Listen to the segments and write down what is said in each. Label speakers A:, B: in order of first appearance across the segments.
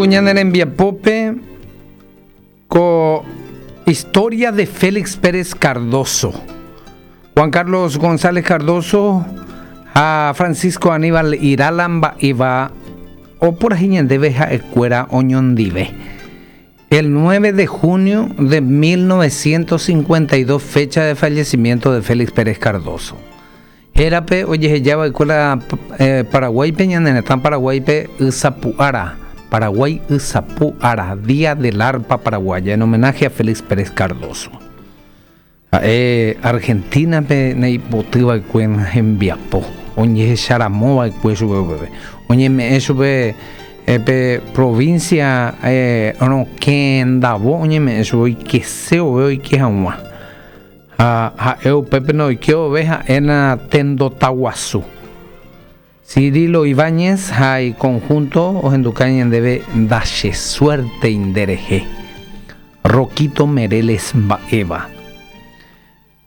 A: Ñane rembiapópe ko historia de Félix Pérez Cardozo. Juan Carlos González Cardozo ha Francisco Aníbal Irala mba'éva opurahéi ñandéve ha'ekuéra oñondive. El 9 de junio de 1952 fecha de fallecimiento de Félix Pérez Cardozo. Hérape ojehejava'ekue la Paraguáipe ñane retã Paraguáipe Ysapu'ára, Paraguái Ysapu'ára, Día del Arpa Paraguaya, en homenaje a Félix Pérez Cardozo. Ha'e Argentina-pe naipotyva'ekue hembiapo, ojehecharamova'ekue chupe upépe. Oñeme'ẽ chupe pe provincia rokẽ ndavo oñeme'ẽ chupe oikese vove oike hag̃ua. Ha ha'e upépe noike vove ha'éna tendota guasu. Cirilo Ibáñez ha iconjunto ohenduka ñandéve Ndachesuértei nderehe. Roquito Mereles mba'éva.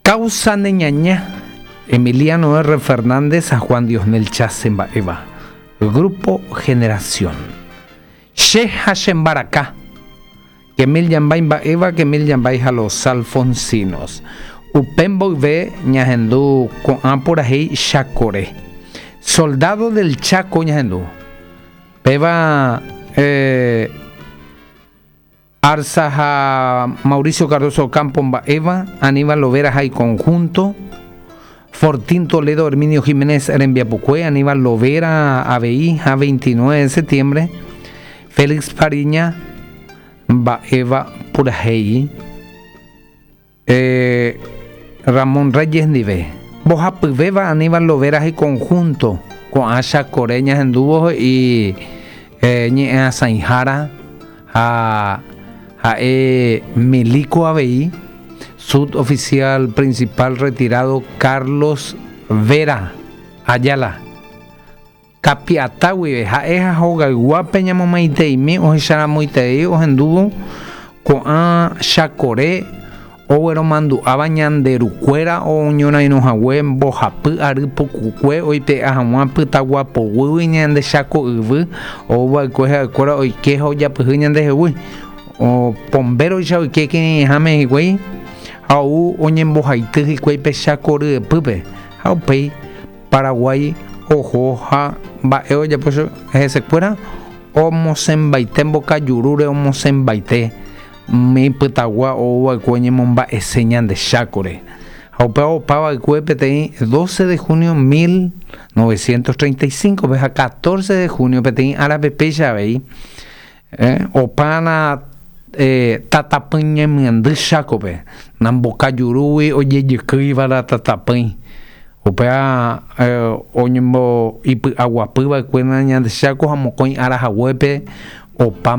A: Causa ne ñaña, Emiliano R. Fernández ha Juan Diosnel Chase mba'éva. Grupo Generación. Che ha che mbaraka. Kemil Yambay mba'éva, Kemil Yambay ha Los Alfonsinos. Upe mboyve ñahendu ko'ã purahéi Chakore. Soldado del Chaco ñahendu. Péva eh, Arza ha Mauricio Cardozo Ocampo mba'éva, Aníbal Lovera ha iconjunto, Fortín Toledo Herminio Giménez rembiapokue, Aníbal Lovera avei ha 29 de septiembre, Félix Fariña mba'éva purahéi eh, Ramón Reyes ndive. Mbohapyvéva Aníbal Lovera ha iconjunto, ko'ã Chakore ñahendúvo he'i eh, ñe'ẽasãihára ha ha'e milico avei, suboficial principal retirado Carlos Vera Ayala. Kapi'ata guive, ha'e ha hogayguápe ñamomaiteimi ohecharamoiterei ohendúvo ko'ã Chakore ogueromandu'áva ñande rukuéra oñorairõhague mbohapy ary pukukue oipe'a hag̃ua pytagua poguýgui ñande Cháko yvy ouva'ekue ha'ekuéra oike ha ojapyhy ñandehegui. Pombéroicha oike kirirĩháme hikuái ha ou oñembohaity hikuái pe Cháko ryepýpe ha upéi Paraguái oho ha mba'e ojapo hesekuéra omosẽmbaite mbokajurúre omosẽmbaite umi pytagua ou va'ekue oñemomba'ese ñande Chákore. Ha upéva opa va'ekue peteĩ 12 de junio 1935-pe ha 14 de junio peteĩ árape péicha avei opa na tatapỹi ñemyendy Chákope, na mbokajurúgui ojejykýiva la tatapỹi. Upéva oñembo'ipy'aguapy va'ekue na ñande Cháko ha mokõi ára haguépe opa.